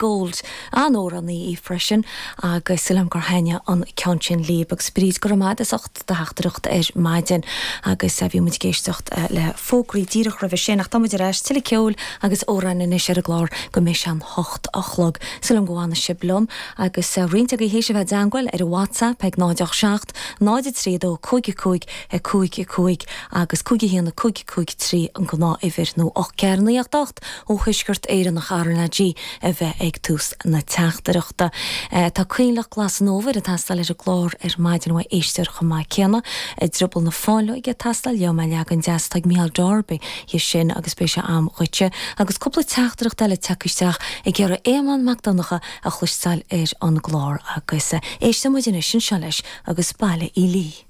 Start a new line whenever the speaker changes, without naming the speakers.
Gold. An-amhránaí í freisin agus súil agam gur thaitnigh an ceann sin libh. Agus Bríd, go raibh maith agat as ucht do theachtaireacht ar maidin agus bhí muid ag éisteacht le fógraí díreach roimhe sin ach tá muid ar ais, tuilleadh ceoil agus amhráin anois ar an gclár go mbeidh sé an h-ocht a chlog. Súil agam go bhfanfaidh sibh liom agus roinnt agaibh théis a bheith i dteangmháil ar an WhatsApp ag 0 8 7 0 3 2 5 5 5 5 agus 5 1 5 5 3 an gnáth-uimhir nó 8 4 9 8 8 ó Thuaisceart Éireann ach RnaG a bheith ag tús na teachtaireachta. Tá Coinleach Glas an Fhómhair ag teastáil ar an gclár ar maidin uaidh éisteoir chomh maith céanna. Drioball na Fáinleoige ag teastáil, gheobhaidh mé leagan deas atá ag Mícheál Darby dhe sin agus beidh sé a'm dhuitse. Agus cúpla teachtaireacht eile tagtha isteach ag iarraidh Éamonn Mac Donncha a chloisteáil ar an gclár agus éistfidh muid anois anseo leis agus Baile Uí Lí.